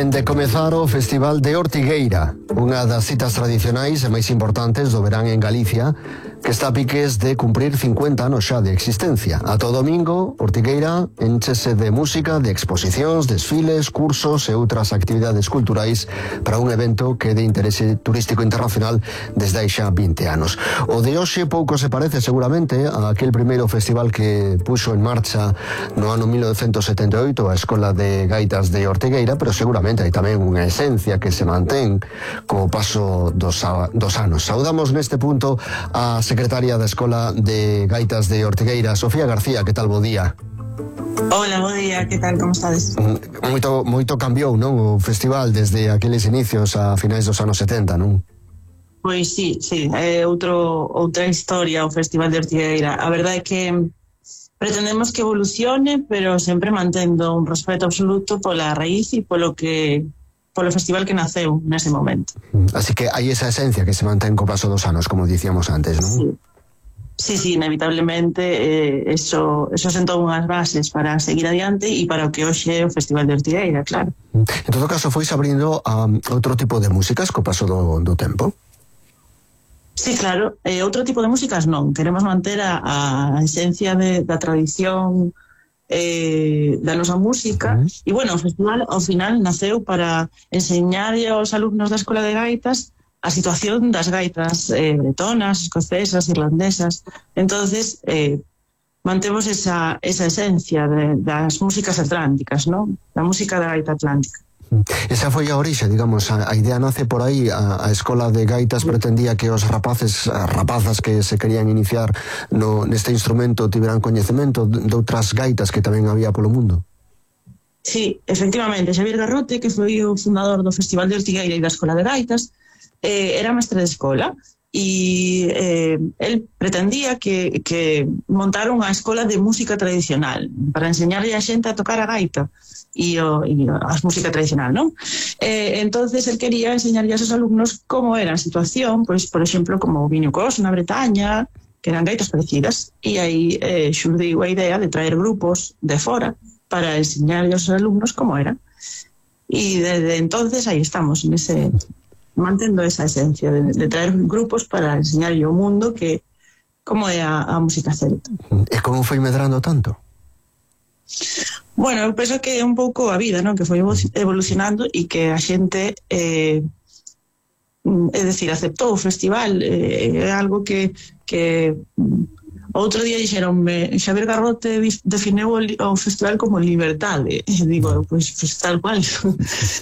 Vén de comezar o Festival de Ortigueira, unha das citas tradicionais e máis importantes do verán en Galicia, que está a piques de cumprir 50 anos xa de existencia. A todo domingo, Ortigueira enchese de música, de exposicións, desfiles, cursos e outras actividades culturais para un evento que é de interese turístico internacional desde hai xa 20 anos. O de hoxe pouco se parece seguramente a aquel primeiro festival que puxo en marcha no ano 1978 a Escola de Gaitas de Ortigueira, pero seguramente hai tamén unha esencia que se mantén co paso dos anos. Saudamos neste punto a secretaria da Escola de Gaitas de Ortigueira, Sofía García. Que tal, bo día? Hola, bo día, que tal, como estades? Moito cambiou, non, o festival desde aqueles inicios a finais dos anos 70, non? Pois sí, é outra historia o Festival de Ortigueira. A verdade é que pretendemos que evolucione, pero sempre mantendo un respeto absoluto pola raíz e polo festival que naceu nese momento. Así que hai esa esencia que se mantén co paso dos anos, como dicíamos antes, non? Sí, inevitablemente eso sentou unhas bases para seguir adiante e para o que hoxe é o Festival de Ortigueira, claro. En todo caso, foi abrindo a outro tipo de músicas co paso do tempo? Sí, claro, outro tipo de músicas non. Queremos manter a esencia da tradición da nosa música. E, bueno, o festival ao final naceu para enseñar aos alumnos da Escola de Gaitas a situación das gaitas bretonas, escocesas, irlandesas. Entonces, mantemos esa esencia das músicas atlánticas, non? Da música da gaita atlántica. Esa foi a orixe, digamos, a idea nace por aí. A Escola de Gaitas pretendía que os rapazas que se querían iniciar neste instrumento tiveran coñecemento de outras gaitas que tamén había polo mundo. Sí, efectivamente, Xavier Garrote, que foi o fundador do Festival de Ortigueira e da Escola de Gaitas, era mestre de escola e el pretendía que montar unha escola de música tradicional para enseñarlle a xente a tocar a gaita e a música tradicional, non? Entonces el quería enseñarlle a seus alumnos como era a situación, pois, por exemplo, como o Viño Cos na Bretaña, que eran gaitas parecidas, e aí xurdiu a idea de traer grupos de fora para enseñarlle aos alumnos como era. E desde entonces aí estamos, mantendo esa esencia de traer grupos para enseñarlle ao mundo que como é a música celta. E como foi medrando tanto? Bueno, eu penso que é un pouco a vida, non? Que foi evolucionando e que a xente é decir, aceptou o festival. É algo que outro día dixeronme, Xavier Garrote definiu o festival como liberdade. E digo, pois tal cual,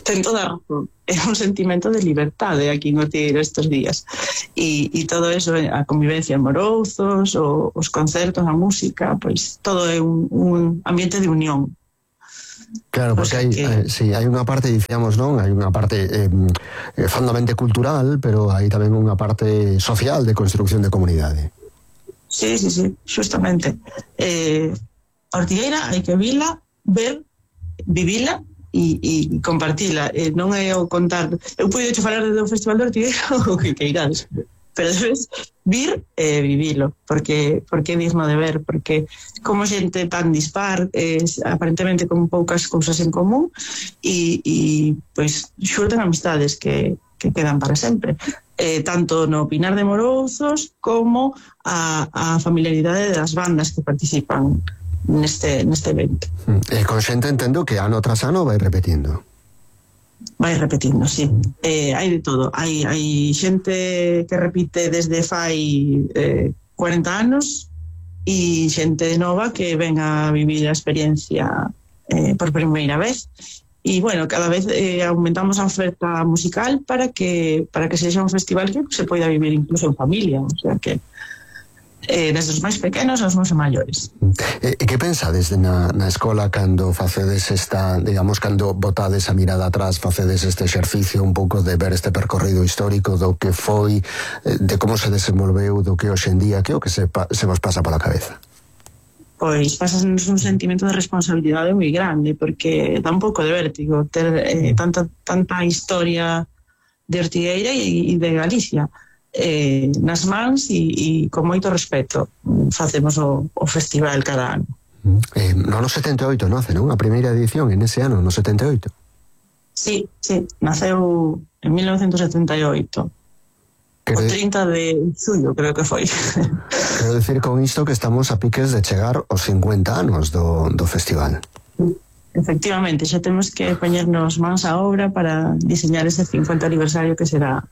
ten toda a razón. É un sentimento de liberdade aquí en Ortigueira estes días. E todo eso, a convivencia en Morouzos, os concertos, a música, pois todo é un ambiente de unión. Claro, porque hai unha parte, dicíamos, non? Hai unha parte fondamente cultural, pero hai tamén unha parte social de construcción de comunidade. Sí, justamente. Ortigueira hai que vila, ver, vivila e compartila. Non é o contar. Eu podo falar do Festival de Ortigueira o que queirades, pero debes vir e vivilo, porque é digno de ver, porque como xente tan dispar, aparentemente con poucas cousas en común, e pois xurden amistades que quedan para sempre. Tanto no Pinar de Morouzos como a familiaridade das bandas que participan neste evento. E con xente entendo que ano tras ano vai repetindo. Vai repetindo, sí. Hai de todo. Hai xente que repite desde fai 40 anos e xente nova que ven a vivir a experiencia por primeira vez. E, bueno, cada vez aumentamos a oferta musical para que sexa un festival que se poida vivir incluso en familia. O sea que desde os máis pequenos aos máis maiores. E que pensades na escola cando facedes digamos, cando botades a mirada atrás, facedes este exercicio un pouco de ver este percorrido histórico do que foi, de como se desenvolveu, do que hoxe en día, que é o que se vos pasa pola cabeza? Pois pasanos un sentimento de responsabilidade moi grande, porque dá un pouco de vértigo ter tanta historia de Ortigueira e de Galicia nas mans e con moito respeto facemos o festival cada ano. No ano 78 nace, non? A primeira edición en ese ano, no 78. Sí, naceu en 1978. O 30 de xullo, creo que foi. Quero dicir con isto que estamos a piques de chegar aos 50 anos do festival. Efectivamente, xa temos que poñernos mans á obra para diseñar ese 50 aniversario que será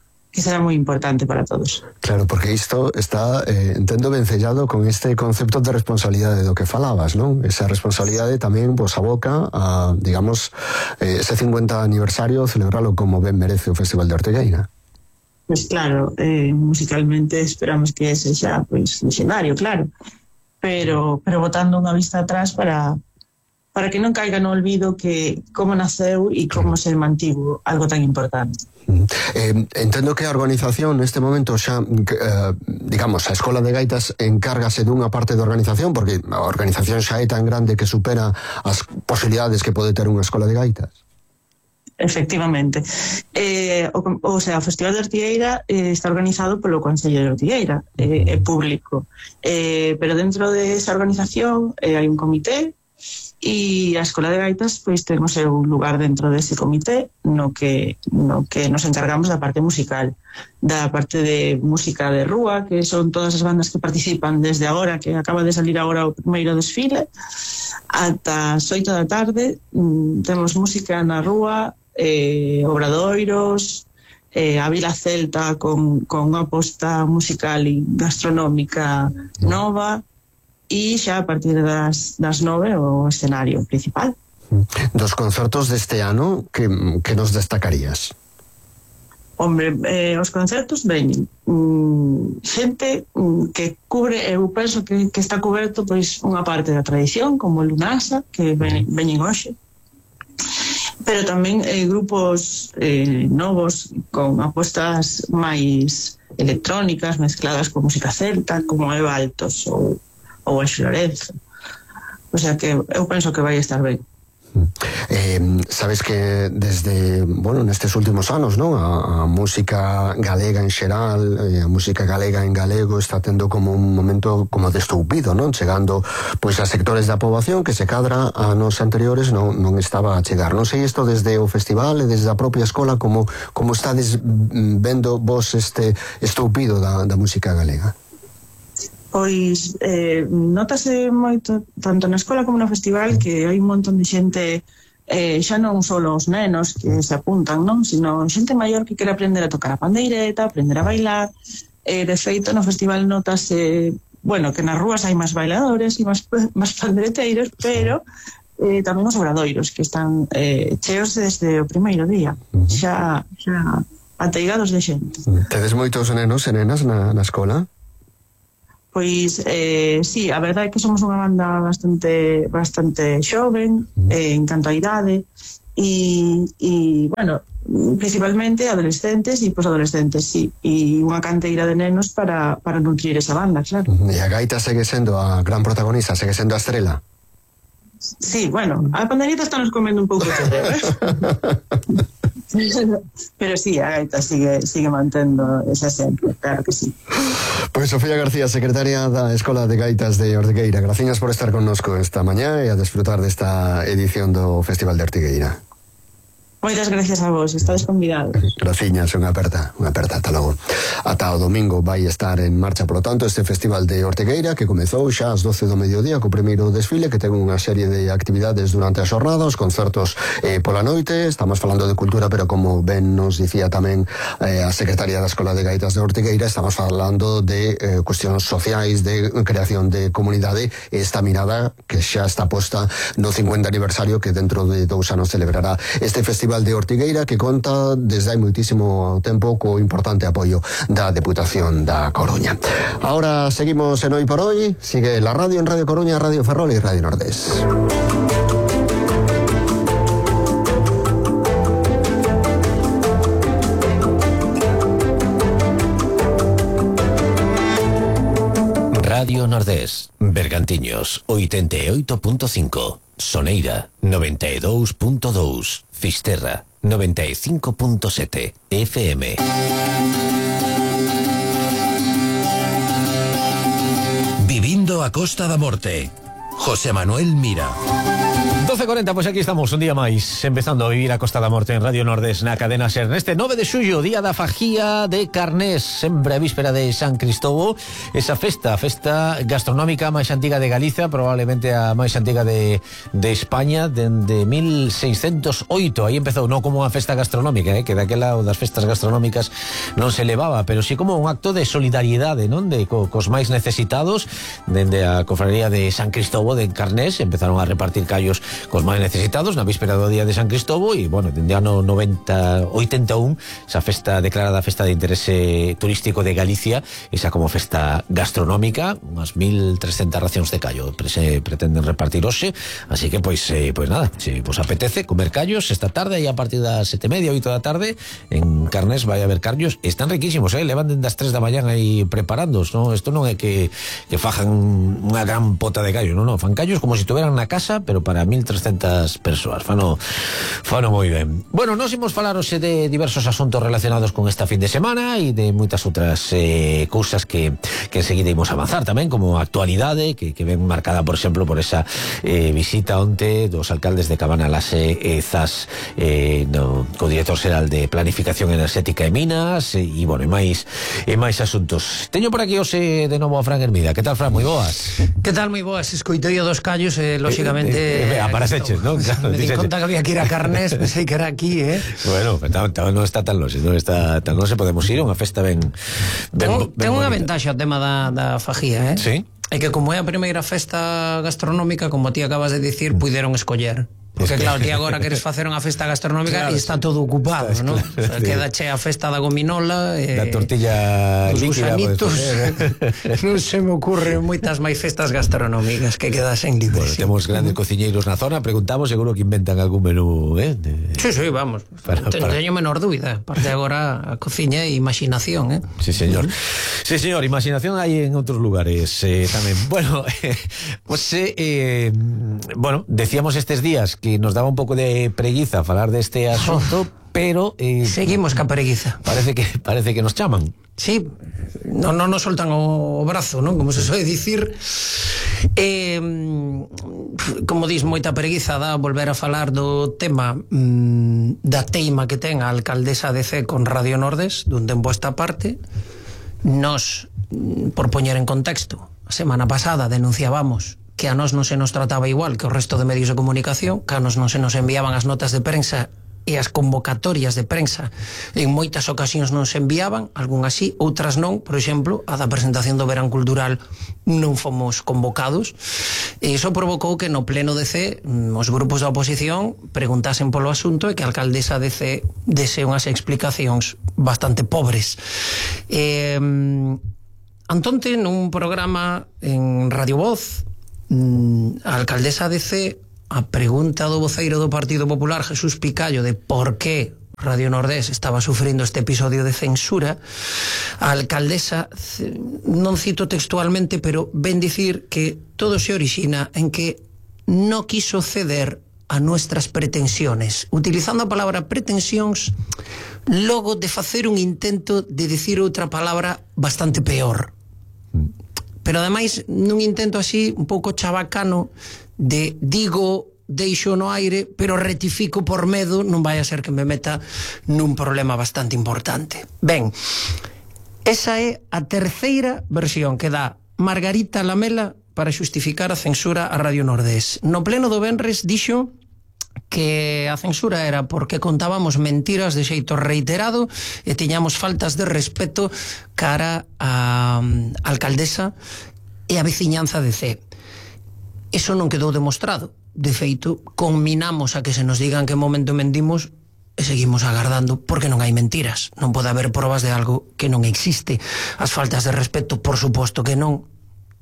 moi importante para todos. Claro, porque isto está, entendo, vencellado con este concepto de responsabilidade do que falabas, non? Esa responsabilidade tamén vos aboca a, digamos, ese 50 aniversario, celebralo como ben merece o Festival de Ortigueira. Pues claro, musicalmente esperamos que sexa pues legendario, claro, pero botando unha vista atrás para que non caiga no olvido que como naceu e como se mantivo algo tan importante. Entendo que a organización neste momento xa, digamos, a Escola de Gaitas encárgase dunha parte da organización, porque a organización xa é tan grande que supera as posibilidades que pode ter unha escola de gaitas. Efectivamente. O Festival de Ortigueira está organizado polo Concello de Ortigueira, é público. Pero dentro desa organización hai un comité e a Escola de Gaitas pois ten o seu lugar dentro dese comité no que nos encargamos da parte musical, da parte de música de rúa, que son todas as bandas que participan desde agora, que acaba de salir agora o primeiro desfile, ata as 8 da tarde. Temos música na rúa, obradoiros, a Vila Celta con unha aposta musical e gastronómica nova, e xa a partir das 9 o escenario principal. Dos concertos deste ano, que nos destacarías? Hombre, os concertos veñen xente que cubre, eu penso que está coberto pois unha parte da tradición, como o Lunasa, que veñen hoxe, pero tamén grupos novos con apostas máis electrónicas mezcladas con música celta, como Eva Altos ou Anxo Lorenzo. O sea que eu penso que vai estar ben. Sabes que desde, nestes últimos anos, non? A música galega en xeral, a música galega en galego está tendo como un momento como de estoupido, non? Chegando pois a sectores da poboación que se cadra a anos anteriores non estaba a chegar. Non sei isto desde o festival e desde a propia escola como estades vendo vos este estoupido da música galega. Pois notase moito tanto na escola como no festival que hai un montón de xente, xa non só os nenos que se apuntan, non, sino xente maior que quere aprender a tocar a pandeireta, aprender a bailar. De feito no festival notase, que nas rúas hai máis bailadores e máis pandeireteiros, pero tamén os obradoiros que están cheos desde o primeiro día, xa ateigados de xente. Tedes moitos nenos e nenas na escola? Pois, sí, a verdade é que somos unha banda bastante xoven, en canto a idade, e principalmente adolescentes e posadolescentes, sí, e unha canteira de nenos para nutrir esa banda, claro. E a gaita segue sendo a gran protagonista, segue sendo a estrela? Sí, a pandereta está nos comendo un pouco de terreo, pero sí, a gaita sigue mantendo esa sempre, claro que sí. Pois Sofía García, secretaria da Escola de Gaitas de Ortigueira, graciñas por estar connosco esta mañá e a desfrutar desta edición do Festival de Ortigueira. Moitas gracias a vos, estades convidados. Graciñas, unha aperta, ata logo. Ata o domingo vai estar en marcha, polo tanto, este Festival de Ortigueira que comezou xa ás 12 do mediodía co primeiro desfile, que ten unha serie de actividades durante a xornada, os concertos pola noite. Estamos falando de cultura, pero como ben nos dicía tamén a secretaria da Escola de Gaitas de Ortigueira, estamos falando de cuestións sociais, de creación de comunidade, esta mirada que xa está posta no 50 aniversario que dentro de 2 anos celebrará este Festival de Ortigueira, que conta desde hai moitísimo tempo co importante apoio da Deputación da Coruña. Ahora seguimos en Hoy por Hoy. Sigue la radio en Radio Coruña, Radio Ferrol y Radio Nordés. Radio Nordés, Bergantiños 88.5, Soneira 92.2, Fisterra 95.7 FM. Vivindo a Costa da Morte, José Manuel Mira. 12:40, pois aquí estamos un día máis empezando a vivir a Costa da Morte en Radio Nordés na cadena SER neste 9 de xullo, día da fajía de Carnés, sempre a víspera de San Cristóbal, esa festa gastronómica máis antiga de Galicia, probablemente a máis antiga de España dende 1608. Aí empezou, non como unha festa gastronómica, que daquela das festas gastronómicas non se levaba, pero sí como un acto de solidariedade, non, de cos máis necesitados. Dende a cofradía de San Cristóbal de Carnés empezaron a repartir callos cos máis necesitados na víspera do día de San Cristóbal e, bueno, dende ano 81 esa festa declarada festa de interese turístico de Galicia, esa como festa gastronómica, unhas 1.300 racións de callo se pretenden repartir hoxe, así que pois nada, se vos apetece comer callos esta tarde e a partir das 7:30, 8 da tarde en Carnés vai haber callos, están riquísimos, levan dende as 3 da mañá aí preparándoos, non? Isto non é que fajan unha gran pota de callo, non, fan callos como se estuveran na casa, pero para 1.300 persoas, fano moi ben. Bueno, nos imos falar hoxe de diversos asuntos relacionados con esta fin de semana e de moitas outras cousas que enseguida imos avanzar tamén, como a actualidade que ven marcada, por exemplo, por esa visita onte dos alcaldes de Cabanalase e Zas co director xeral de Planificación Enerxética e Minas e bueno, e máis asuntos. Teño por aquí hoxe de novo a Fran Hermida. Que tal, Fran? Moi boas. Que tal, moi boas? Escoitei o dos callos e, lóxicamente... Apareceches, non? Claro, me di conta que había que ir a Carnés, pensei que era aquí, Bueno, non está tan longe, non se podemos ir a unha festa ben ten unha ventaxa o tema da fajía, Sí. É que como é a primeira festa gastronómica, como ti acabas de dicir, puideron escoller. Porque claro, ti agora queres facer unha festa gastronómica e está todo ocupado, non? Claro, queda che a festa da gominola, da tortilla líquida, gusanitos. Non se me ocurren moitas máis festas gastronómicas que quedasen libres. Bueno, temos grandes cociñeiros na zona, preguntamos, seguro que inventan algún menú, Sí, vamos. Teño menor dúbida. Parte agora a cociña e imaginación, Sí, señor. Sí, señor, imaginación hai en outros lugares tamén. Bueno, bueno, decíamos estes días que nos daba un pouco de preguiza falar deste asunto, pero seguimos ca preguiza. Parece que nos chaman. Sí, non nos soltan o brazo, non? Como se soe dicir. Como dis, moita preguiza dá volver a falar do tema da teima que ten a alcaldesa de Cee con Radio Nordés dun tempo a esta parte. Nos, por poñer en contexto, a semana pasada denunciábamos que a nós non se nos trataba igual que o resto de medios de comunicación, que a nós non se nos enviaban as notas de prensa e as convocatorias de prensa en moitas ocasións non se enviaban, algunhas sí, outras non. Por exemplo, a da presentación do Verán Cultural non fomos convocados, e iso provocou que no pleno de Cee os grupos da oposición preguntasen polo asunto e que a alcaldesa de Cee dese unhas explicacións bastante pobres. Antonte, nun programa en Radio Voz, a alcaldesa de Cee, a pregunta do voceiro do Partido Popular, Jesús Picallo, de por que Radio Nordés estaba sufrindo este episodio de censura, a alcaldesa, non cito textualmente, pero ven dicir que todo se orixina en que no quiso ceder a nuestras pretensiones, utilizando a palabra pretensións logo de facer un intento de dicir outra palabra bastante peor. Pero ademais nun intento así un pouco chabacano de digo, deixo no aire, pero rectifico por medo, non vai a ser que me meta nun problema bastante importante. Ben, esa é a terceira versión que dá Margarita Lamela para xustificar a censura a Radio Nordés. No pleno do venres dixo que a censura era porque contábamos mentiras de xeito reiterado e tiñamos faltas de respeto cara a alcaldesa e a veciñanza de Cee. Eso non quedou demostrado. De feito, conminamos a que se nos digan que momento mentimos e seguimos agardando porque non hai mentiras. Non pode haber probas de algo que non existe. As faltas de respeto, por suposto que non.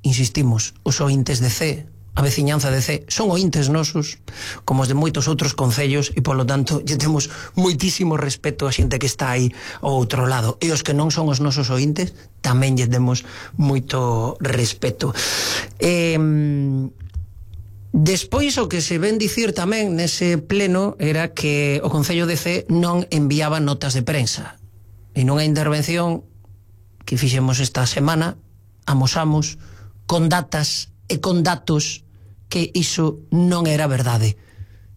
Insistimos, os ointes de Cee, a veciñanza de Cee, son ointes nosos como os de moitos outros concellos e polo tanto lle temos moitísimo respeto a xente que está aí ao outro lado, e os que non son os nosos ointes tamén lle temos moito respeto. Despois o que se ven dicir tamén nese pleno era que o Concello de Cee non enviaba notas de prensa, e nunha intervención que fixemos esta semana amosamos con datas e con datos que iso non era verdade.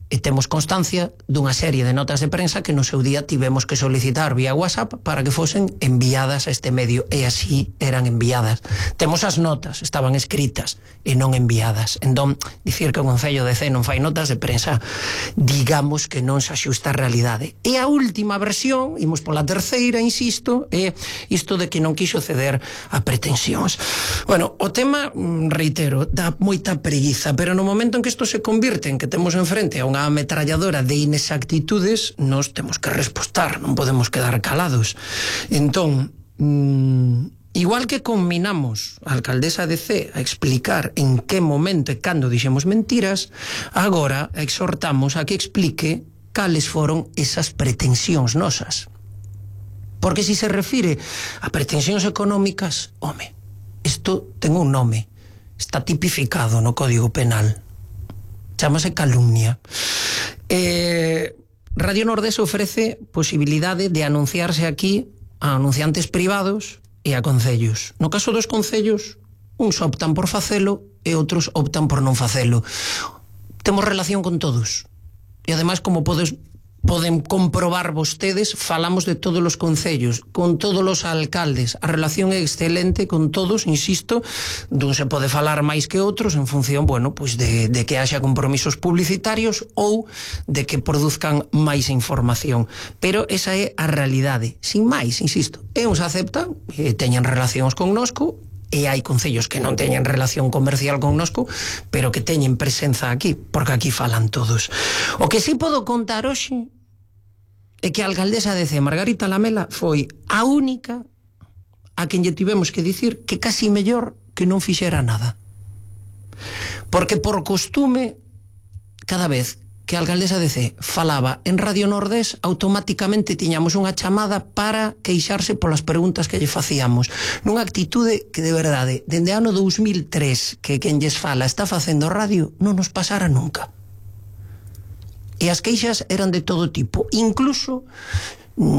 E temos constancia dunha serie de notas de prensa que no seu día tivemos que solicitar vía WhatsApp para que fosen enviadas a este medio, e así eran enviadas. Temos as notas, estaban escritas e non enviadas. Entón, dicir que o Concello de Cee non fai notas de prensa, digamos que non se axusta a realidade. E a última versión, imos pola terceira, insisto, é isto de que non quixo ceder a pretensións. Bueno, o tema, reitero, dá moita preguiza, pero no momento en que isto se convirte en que temos enfrente a unha ametralladora de inexactitudes, nos temos que respostar, non podemos quedar calados. Entón, igual que combinamos a alcaldesa de Cee a explicar en que momento e cando dixemos mentiras, agora exhortamos a que explique cales foron esas pretensións nosas. Porque se refire a pretensións económicas, home, isto ten un nome, está tipificado no Código Penal, chámase calumnia. Radio Nordés ofrece posibilidade de anunciarse aquí a anunciantes privados e a concellos. No caso dos concellos, uns optan por facelo e outros optan por non facelo. Temos relación con todos. E ademais, como poden comprobar vostedes, falamos de todos os concellos, con todos os alcaldes. A relación é excelente con todos, insisto, dun se pode falar máis que outros en función, bueno, pues de que haxa compromisos publicitarios ou de que produzcan máis información. Pero esa é a realidade. Sin máis, insisto, e uns aceptan e teñen relacións connosco, e hai concellos que non teñen relación comercial connosco, pero que teñen presenza aquí, porque aquí falan todos. O que sí podo contar hoxe é que a alcaldesa de Cee, Margarita Lamela, foi a única a quen lle tivemos que dicir que casi mellor que non fixera nada. Porque por costume, cada vez que a alcaldesa de Cee falaba en Radio Nordés, automáticamente tiñamos unha chamada para queixarse polas preguntas que lle facíamos. Nunha actitude que, de verdade, dende ano 2003 que quen lles fala está facendo radio, non nos pasara nunca. E as queixas eran de todo tipo. Incluso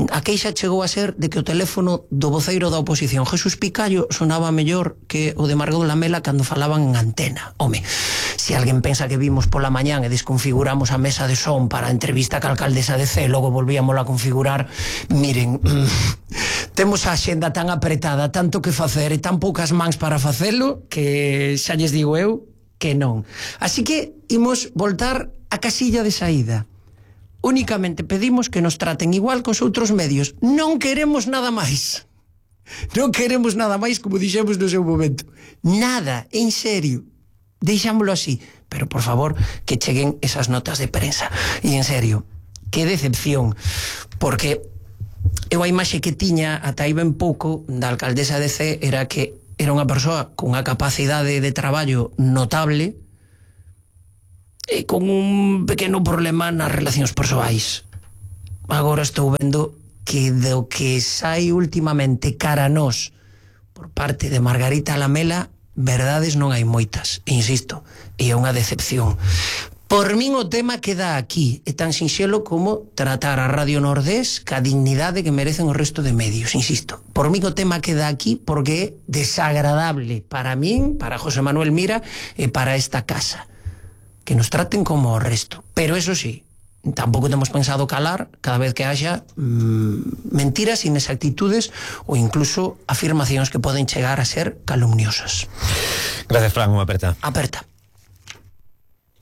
a queixa chegou a ser de que o teléfono do voceiro da oposición, Jesús Picallo, sonaba mellor que o de Margot Lamela cando falaban en antena. Home, se alguén pensa que vimos pola mañán e desconfiguramos a mesa de son para a entrevista ca alcaldesa de Cee, logo volvíamos a configurar, miren, temos a xenda tan apretada, tanto que facer e tan poucas mans para facelo, que xa lles digo eu que non. Así que imos voltar a casilla de saída. Únicamente pedimos que nos traten igual cos outros medios. Non queremos nada máis. Non queremos nada máis, como dixemos no seu momento. Nada, en serio. Deixámoslo así. Pero, por favor, que cheguen esas notas de prensa. E, en serio, que decepción. Porque eu a imaxe que tiña ata aí ben pouco da alcaldesa de Cee era que era unha persoa con unha capacidade de traballo notable e con un pequeno problema nas relacións persoais. Agora estou vendo que do que sai últimamente cara a nós por parte de Margarita Lamela, verdades non hai moitas, insisto, e é unha decepción. Por min o tema queda aquí, é tan sinxelo como tratar a Radio Nordés ca dignidade que merecen o resto de medios, insisto. Por min o tema queda aquí porque é desagradable para min, para José Manuel Mira e para esta casa. Que nos traten como o resto. Pero eso sí, tampouco temos pensado calar cada vez que haxa mentiras, inexactitudes ou incluso afirmacións que poden chegar a ser calumniosas. Gracias, Fran, unha aperta. Aperta.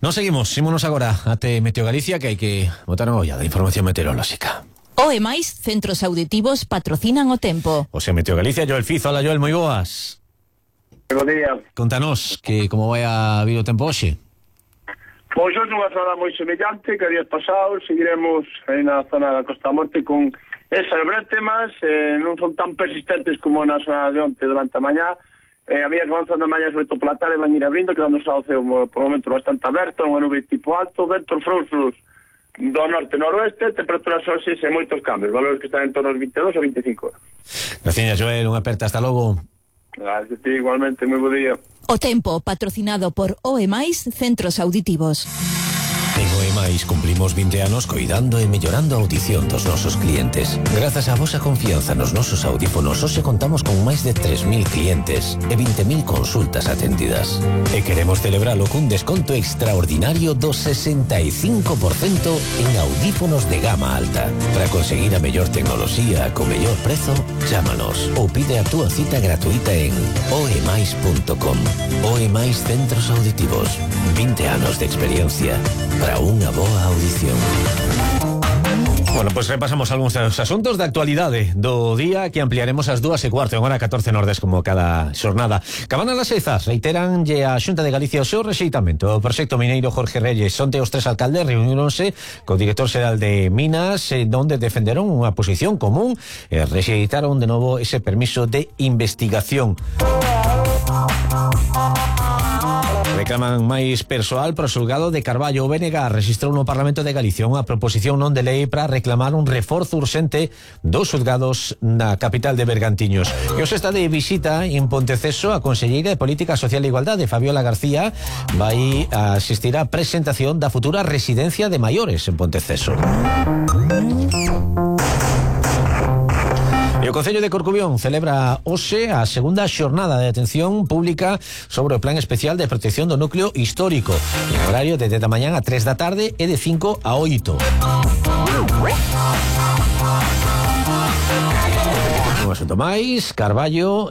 Nos seguimos, ímonos agora até Meteo Galicia, que hai que botar unha olla da información meteorolóxica. O e máis centros auditivos patrocinan o tempo. O sea, Meteo Galicia, Joel Fizo. Hola, Joel, moi boas. Bo día. Contanos que como vai a vir o tempo hoxe. Pois hoxe unha zona moi semellante que días pasados, seguiremos aí na zona da Costa Morte con esas brétemas, non son tan persistentes como na zona de onte durante a mañá. A medida que avanzando a mañá, sobre todo pola tarde, van ir abrindo, quedando o ceo por momento bastante aberto, unha nube tipo alto, ventos frouxos do norte-noroeste, temperaturas hoxe sen moitos cambios, valores que están en torno aos 22 a 25 horas. Gracias, Joel, unha aperta, hasta logo. Gracias, igualmente, moi bo día. O tempo patrocinado por OE+, centros auditivos. En OE+, máis, cumplimos 20 anos coidando e mellorando a audición dos nosos clientes. Grazas á vosa confianza nos nosos audífonos, hoxe contamos con máis de 3.000 clientes e 20.000 consultas atendidas. E queremos celebralo cun desconto extraordinario do 65% en audífonos de gama alta. Para conseguir a mellor tecnoloxía co mellor prezo, chámanos ou pide a túa cita gratuita en oemais.com. Oemais Centros Auditivos. 20 anos de experiencia para unha boa audición. Bueno, pues repasamos algúns dos asuntos de actualidade do día que ampliaremos ás 2:15 en hora 14 Nordes como cada xornada. Cabana las Seizas reiteranlle a Xunta de Galicia o seu rexeitamento. O proxecto mineiro Jorge Reyes, onte os tres alcaldes reunironse co director xeral de Minas, donde defenderon unha posición común e rexeitaron de novo ese permiso de investigación. Reclaman máis persoal pro xulgado de Carballo. O BNG registrou no Parlamento de Galicia unha proposición non de lei para reclamar un reforzo urxente dos xulgados na capital de Bergantiños. E hoxe está de visita en Ponteceso a conselleira de Política Social e Igualdade, Fabiola García, vai a asistir á presentación da futura residencia de maiores en Ponteceso. E o Concello de Corcubión celebra hoxe a segunda xornada de atención pública sobre o Plan Especial de Protección do Núcleo Histórico, en horario de 10 da mañán a 3 da tarde e de 5 a 8. Un asunto máis, Carballo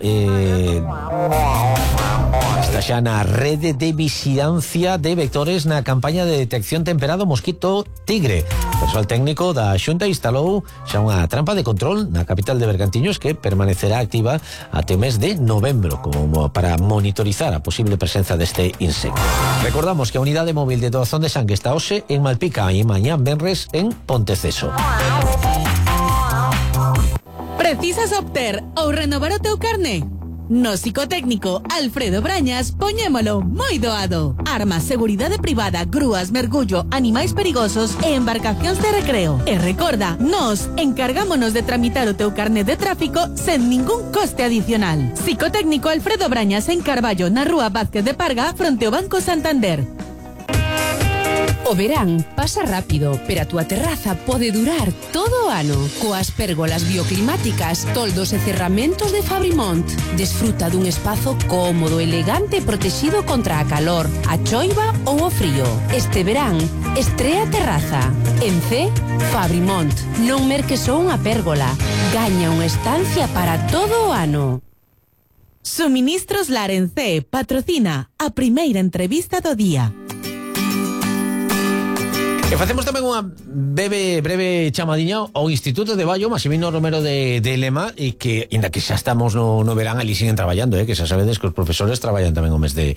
está xa na rede de vixilancia de vectores na campaña de detección temperado mosquito tigre. O persoal técnico da Xunta instalou xa unha trampa de control na capital de Bergantiños que permanecerá activa até o mes de novembro como para monitorizar a posible presenza deste insecto. Recordamos que a unidade móvil de doazón de sangue está hoxe en Malpica e mañán venres en Ponteceso. Precisas obter ou renovar o teu carné? No psicotécnico Alfredo Brañas poñémolo moi doado. Armas, seguridade privada, grúas, mergullo, animais perigosos e embarcacións de recreo. E recorda, nos encargámonos de tramitar o teu carné de tráfico sen ningún coste adicional. Psicotécnico Alfredo Brañas en Carballo, na rúa Vázquez de Parga, fronte ao Banco Santander. O verán pasa rápido, pero a túa terraza pode durar todo o ano. Coas pérgolas bioclimáticas, toldos e cerramentos de Fabrimont. Desfruta dun espazo cómodo, elegante e protegido contra a calor, a choiva ou o frío. Este verán, estrea terraza. En C, Fabrimont. Non merques só unha pérgola. Gaña unha estancia para todo o ano. Suministros Larencé patrocina a primeira entrevista do día. E facemos tamén unha breve chamadiña ao Instituto de Baio Maximino Romero de Lema, e que, inda que xa estamos no verán, ali siguen traballando, que xa sabedes que os profesores traballan tamén o mes de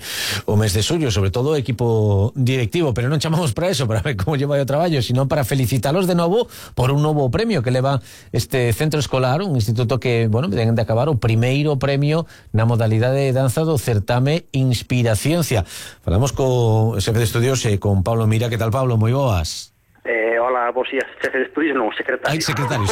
xullo, sobre todo o equipo directivo, pero non chamamos para eso, para ver como lleva o traballo, sino para felicitalos de novo por un novo premio que leva este centro escolar, un instituto que, bueno, ten de acabar o primeiro premio na modalidade de danza do certame Inspiraciencia. Falamos co xefe de estudios e con Pablo Mira. Que tal, Pablo? Moi boas. Hola, vos días, xefe de estudios, non, secretario. Secretario.